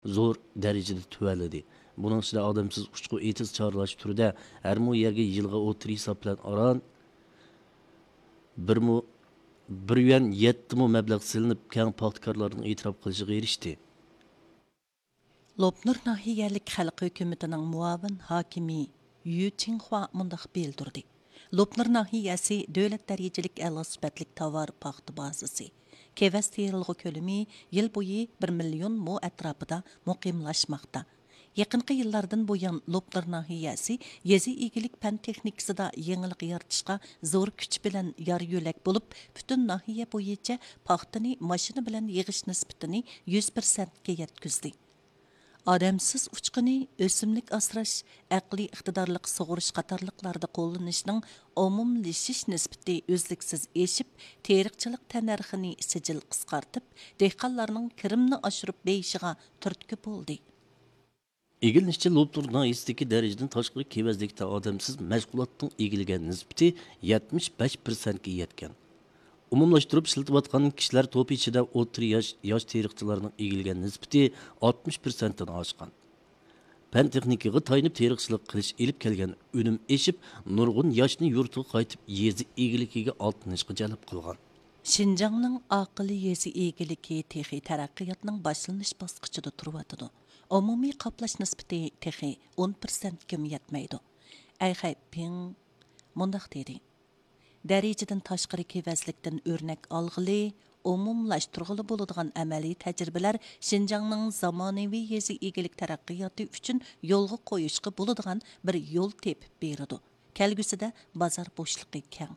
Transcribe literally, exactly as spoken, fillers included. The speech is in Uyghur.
زور دەرىجىدە تۆۋەنلىدى. بۇنىڭ ئىچىدە ئادەمسىز ئۇچقۇ ئېتىز چارلاش تۈرىدە ھەر مو يەرگە يىلغا ئوتتۇرا ھېساب بىلەن ئاران بىر مو-، بىر يۈەن يەتتە مو مەبلەغ سېلىنىپ، كەڭ پاختىكارلارنىڭ ئېتىراپ قىلىشىغا ئېرىشتى. لوپنۇر ناھىيەلىك خەلق ھۆكۈمىتىنىڭ مۇئاۋىن ھاكىمى يۈ چىڭخۇا مۇنداق بىلدۈردى: لوپنۇر ناھىيەسى دۆلەت دەرىجىلىك ئەلا سۈپەتلىك تاۋار پاختا بازىسى. كېۋەز تېرىلغۇ كۆلىمى يىل بويى بىر مىليون مو ئەتراپىدا مۇقىملاشماقتا. يېقىنقى يىللاردىن بۇيان، لوپنۇر ناھىيەسى يېزا ئىگىلىك پەن تېخنىكىسىدا يېڭىلىق يارىتىشقا زور كۈچ بىلەن يار يۆلەك بولۇپ، پۈتۈن ناھىيە بويىچە پاختىنى ماشىنا بىلەن يىغىش نىسبىتىنى يۈز پىرسەنتكە يەتكۈزدى. ئادەمسىز ئۇچقۇنى، ئۆسۈملۈك ئاسراش، ئەقلىي ئىقتىدارلىق سۇغۇرۇش قاتارلىقلاردا قوللىنىشنىڭ ئومۇملىشىش نىسبىتى ئۈزلۈكسىز ئېشىپ، تېرىقچىلىق تەننەرخىنى سىجىل قىسقارتىپ، دېھقانلارنىڭ كىرىمنى ئاشۇرۇپ بېيىشىغا تۈرتكە بولدى. ئىگىلىنىشىچە، لوپنۇر ناھىيەسىدىكى دەرىجىدىن تاشقىرى كېۋەزلىكتە ئادەمسىز مەشغۇلاتنىڭ ئىگىلىگەن نىسبىتى يەتمىش بەش پىرسەنتكە يەتكەن. ئومۇملاشتۇرۇپ ئىشلىتىۋاتقان كىشىلەر توپى ئىچىدە ئوتتۇرا ياش، ياش تېرىقچىلارنىڭ ئىگىلىگەن نىسبىتى ئاتمىش پىرسەنتتىن ئاشقان. پەن تېخنىكىغا تايىنىپ تېرىقچىلىق قىلىش ئېلىپ كەلگەن ئۈنۈم ئېشىپ، نۇرغۇن ياشنى يۇرتىغا قايتىپ، يېزا ئىگىلىكىگە ئاتلىنىشقا جەلپ قىلغان. شىنجاڭنىڭ ئاقىل يېزا ئىگىلىكى تېخى تەرەققىياتنىڭ باشلىنىش باسقۇچىدا تۇرۇۋاتىدۇ. ئومۇمىي قاپلاش نىسبىتى تېخى ئون پىرسەنتكىمۇ يەتمەيدۇ. ئەي خەيپىڭ مۇنداق دېدى: دەرىجىدىن تاشقىرى كېۋەزلىكتىن ئۆرنەك ئالغىلى، ئومۇملاشتۇرغىلى بولىدىغان ئەمەلىي تەجرىبىلەر شىنجاڭنىڭ زامانىۋى يېزا ئىگىلىك تەرەققىياتى ئۈچۈن يولغا قويۇشقا بولىدىغان بىر يول تېپىپ بېرىدۇ. كەلگۈسىدە بازار بوشلۇقى كەڭ.